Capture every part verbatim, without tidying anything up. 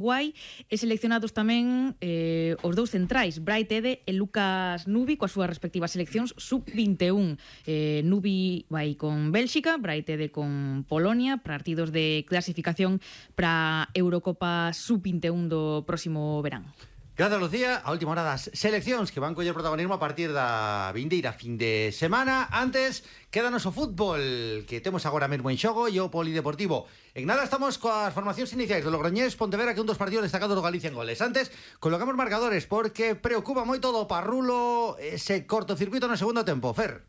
Guai, e seleccionados tamén eh, os dous centrais, Brai Tede e Lucas Nubi, coas súas respectivas seleccións sub vinte e un. Eh, Nubi vai con Bélxica, Brai Tede con Polonia, partidos de clasificación para Eurocopa sub vinte e un do próximo verán. Gracias, Lucía. A última hora das seleccións que van coller protagonismo a partir da vindeira fin de semana. Antes, quédanos o fútbol que temos agora mesmo en xogo e o polideportivo. En nada estamos coas formacións iniciais do Logroñés Pontevedra, que é un dos partidos destacados do Galicia en goles. Antes, colocamos marcadores porque preocupa moito do Parrulo ese cortocircuito no segundo tempo. Fer.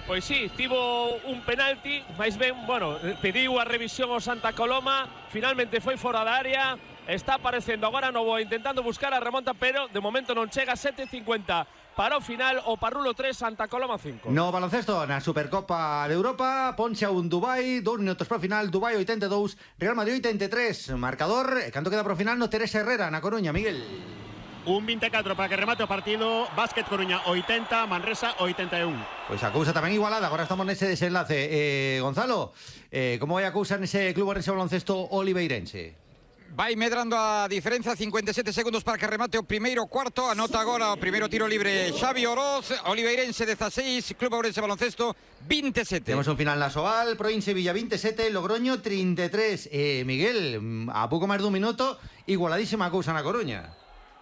Pois sí, tivo un penalti, máis ben, bueno, pediu a revisión ao Santa Coloma, finalmente foi fora da área. Está aparecendo agora Novo intentando buscar a remonta, pero de momento non chega. Sete cincuenta para o final, o Parrulo tres, Santa Coloma cinco. No baloncesto, na Supercopa de Europa, ponche a un Dubai, dous minutos para o final, Dubai oitenta e dous, Real Madrid oitenta e tres. Marcador, e canto queda para o final no Teresa Herrera, na Coruña, Miguel. Un vinte e catro para que remate o partido. Básquet Coruña oitenta, Manresa oitenta e un. Pois a cousa tamén igualada. Agora estamos nese desenlace. eh, Gonzalo, eh, como vai a cousa nese club nese baloncesto oliveirense? Vai medrando a diferenza, cincuenta e sete segundos para que remate o primeiro cuarto. Anota agora o primeiro tiro libre Xavi Oroz. Oliveirense dezasseis, Club Ourense Baloncesto vinte e sete. Temos un final na Soal, Proinse Villa vinte e sete, Logroño trinta e tres. eh, Miguel, a pouco máis dun minuto, igualadísima a cousa na Coruña.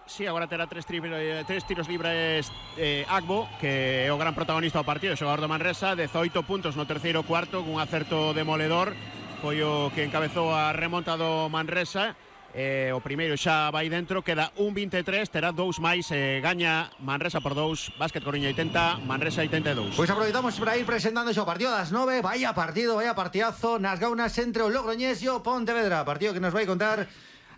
Sí, agora terá tres, tri, tres tiros libres eh, Agbo, que é o gran protagonista do partido, o xogador do Manresa, dezoito puntos no terceiro cuarto, cun acerto demoledor. Foi o que encabezou a remonta do Manresa. Eh, o primeiro xa vai dentro, queda un vinte e tres, terá dous máis, eh, gaña Manresa por dous, Básquet Coruña oitenta, Manresa oitenta e dous. Pois aproveitamos para ir presentando xo partido das nove. Vaya partido, vaya partidazo nas gaunas entre o Logroñés e o Pontevedra. Partido que nos vai contar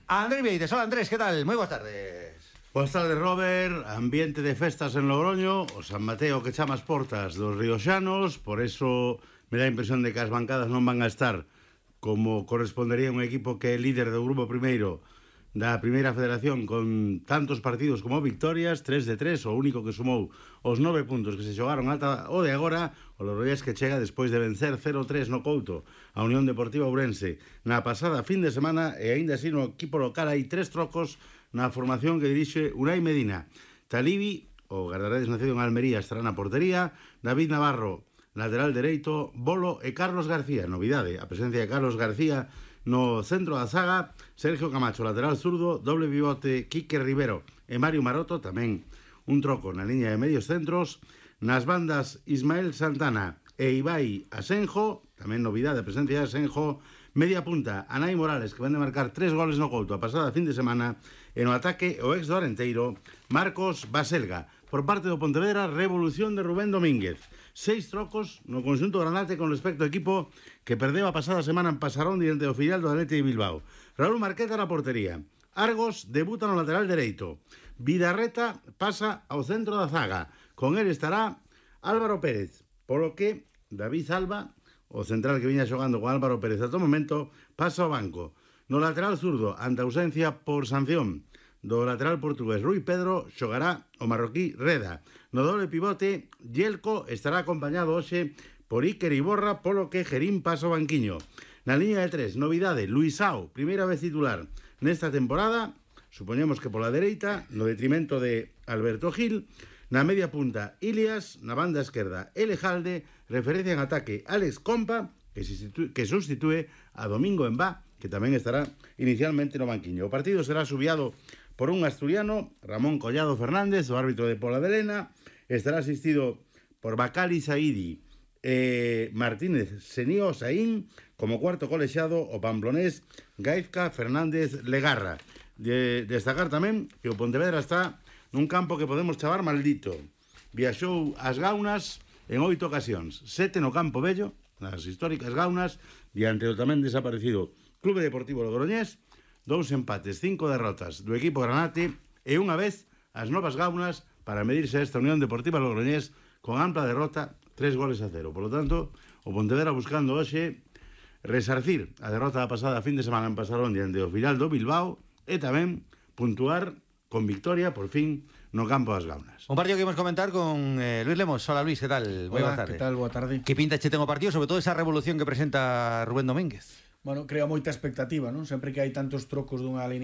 Andrés Vieites. Hola Andrés, que tal? Moi boas tardes. Boas tardes, Robert. Ambiente de festas en Logroño, o San Mateo que chama as portas dos rioxanos, por eso me dá a impresión de que as bancadas non van a estar como correspondería a un equipo que é líder do grupo primeiro da primeira federación con tantos partidos como victorias, tres de tres, o único que sumou os nove puntos que se xogaron ata o de agora, o Logroñés que chega despois de vencer cero tres no Couto a Unión Deportiva Ourense na pasada fin de semana, e aínda así no equipo local hai tres trocos na formación que dirixe Unai Medina. Talibi, o guardaredes nacido en Almería, estará na portería. David Navarro, lateral dereito, Bolo e Carlos García. Novidade, a presencia de Carlos García no centro da zaga. Sergio Camacho, lateral zurdo, doble pivote Quique Rivero e Mario Maroto. Tamén un troco na liña de medios centros. Nas bandas, Ismael Santana e Ibai Asenjo. Tamén novidade, a presencia de Asenjo. Media punta, Anai Morales, que van de marcar tres goles no Couto a pasada fin de semana. E no ataque, o ex do Arenteiro, Marcos Baselga. Por parte do Pontevedra, revolución de Rubén Domínguez. Seis trocos no conxunto granate con respecto ao equipo que perdeu a pasada semana en Pasarón diante do filial do Athletic de Bilbao. Raúl Marqueta na portería. Argos debuta no lateral dereito. Vidarreta pasa ao centro da zaga. Con él estará Álvaro Pérez. Polo que David Alba, o central que viña xogando con Álvaro Pérez ata o momento, pasa ao banco. No lateral zurdo, ante ausencia por sanción do lateral portugués Rui Pedro, xogará o marroquí Reda. No doble pivote, Yelko estará acompañado hoxe por Iker Iborra, polo que Gerín pasa ao banquiño. Na liña de tres, novidade, Luisao, primeira vez titular nesta temporada, supoñemos que pola dereita, no detrimento de Alberto Gil. Na media punta, Ilias, na banda esquerda, Elejalde, referencia en ataque, Alex Compa, que, que sustitúe a Domingo Embá, que tamén estará inicialmente no banquiño. O partido será subiado por un asturiano, Ramón Collado Fernández, o árbitro de Pola de Lena. Estará asistido por Bacali Saidi e Martínez Senío Saín, como cuarto colexiado o pamplonés Gaizka Fernández Legarra. De destacar tamén que o Pontevedra está nun campo que podemos chamar maldito. Viaxou as Gaunas en oito ocasións, sete no Campo Bello, nas históricas Gaunas, diante do tamén desaparecido Clube Deportivo Logroñés. Dous empates, cinco derrotas do equipo granate e unha vez as novas Gaunas para medirse a esta Unión Deportiva Logroñés con ampla derrota, tres goles a cero. Por lo tanto, o Pontevedra buscando hoxe resarcir a derrota da pasada fin de semana en Pasarón diante do filial do Bilbao e tamén puntuar con victoria, por fin, no campo das Gaunas. Un partido que imos comentar con eh, Luis Lemos. Hola Luis, que tal? Boa tarde. Que tal? Boa tarde. Que pinta che ten o partido, sobre todo esa revolución que presenta Rubén Domínguez? Bueno, crea moita expectativa, non? Sempre que hai tantos trocos dunha línea